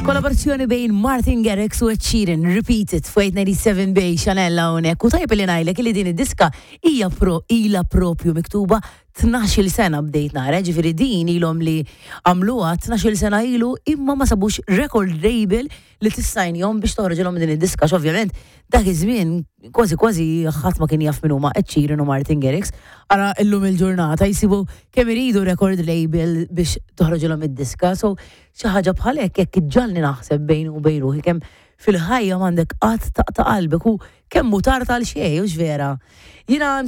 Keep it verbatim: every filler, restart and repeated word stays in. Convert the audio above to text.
Kollaborazzjoni bejn Martin Garrix u Ed Sheeran, Repeat It, fuq eight ninety-seven bej Chanel hawnhekk. U tajb li ngħidlek li din id-diska hija pro ila propju miktuba tnax-il sena, bdejt nara, ġifieri din ilhom li għamluha tnax-il sena ilu, imma ma sabux record label li tissajnjhom biex toħroġilhom din id-diska. Ovvjament dak iż-żmien kważi kważi ħadd ma kien jaf min huma Ed Sheeran u Martin Garrix. Ara illum il-ġurnata jsibu kemm iridu record label biex toħroġilhom id-diska. So xi ħaġa bħal hekk jekk iġġalni naħseb bejn u bejn ruħi kemm fil-ħajja m'għandek qatt taqta' qalbek u kemm mhu tard għal xejn, hux vera? Jiena